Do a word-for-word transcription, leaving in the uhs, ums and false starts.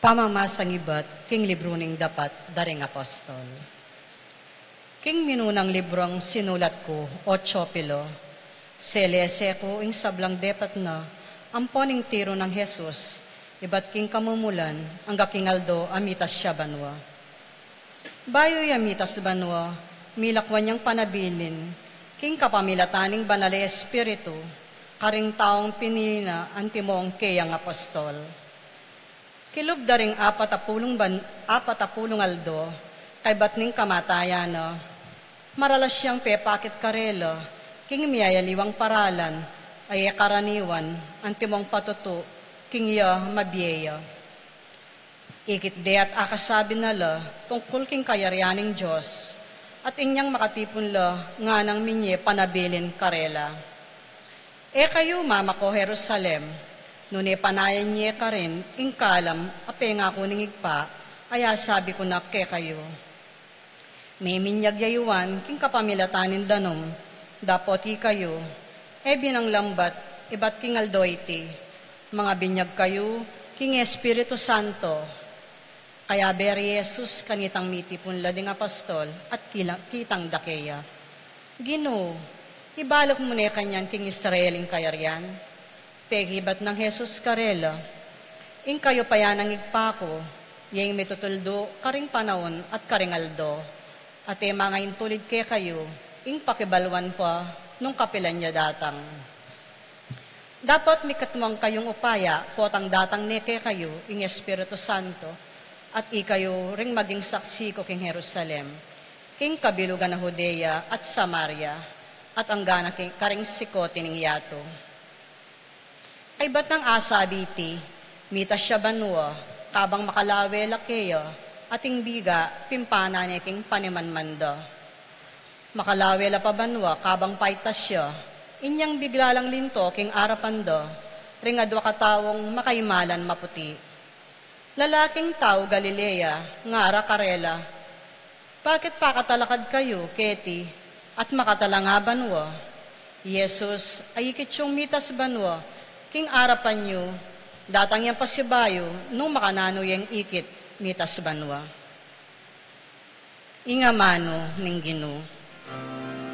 Pamamasang ibat king libru ning dapat da ring apostol. King minunang librung sinulat ku, o Teofilo, selese ku ing sablang depat na ampo ning tiru nang Jesus, ibat king kamumulan angga king aldo a mitas ya banua. Bayu ya mitas banua, milakwan yang panabilin king kapamilatan ning Banal a Espiritu karing taung pinili na antimong keyang apostol. Kilub da ring apat a pulung ban-, apat a pulung aldo kaybat ning kamatayan na, maralas yang pepakit karela king miyayaliwang paralan a e karaniwan antimong patutu king ya mabie ya. Ikit de at akasabi na la tungkul king kayarian ning Dios, at inyang makatipun la nganang minye panabilin karela. E kayu mamako Jerusalem, nune panayan ye karin ing kalam a pengaku ning Ibpa, a yasabi ku na kekayu. Miminyag ya i Juan king kapamilatan ning danum, dapot ikayu, e binanglambat ibat king aldo iti, mangabinyag kayu king Espiritu Santo. Kayabe ri Jesus kanitang mitipun la ding apostol at kila-, kitang da keya, "Ginu, ibalak mu ne kanyan king Israel ing kayarian?" Pekibat nang Jesus karela, "Ing kayupayan ning Ibpa ku, yeng mitutuldu karing panaun at karing aldo, at e mangaintulid kekayu ing pakibaluan pa nung kapilan ya datang. Dapot mikatmuan kayung upaya potang datang ne kekayu ing Espiritu Santo, at ikayu ring maging saksi ku king Jerusalem, king kabilugan a Judea at Samaria, at anggana king karing sikut ning yatu." Kaybat nang asabi iti, mitas ya banua, kabang makalawe la keya, at ing biga pimpana ne king panimanman da. Makalawe la pa banua kabang paitas ya, inyang bigla lang linto king arapan da ring adua kataung makaimalan maputi. Lalaking tau Galilea, ngara karela, "Bakit pakatalakad kayu keti at makatalanga banua? Jesus, a ikit yung mitas banua king arapan yu, datang yang pasibayu nung makananu yang ikit mitas banua." Ing amanu ning Ginu.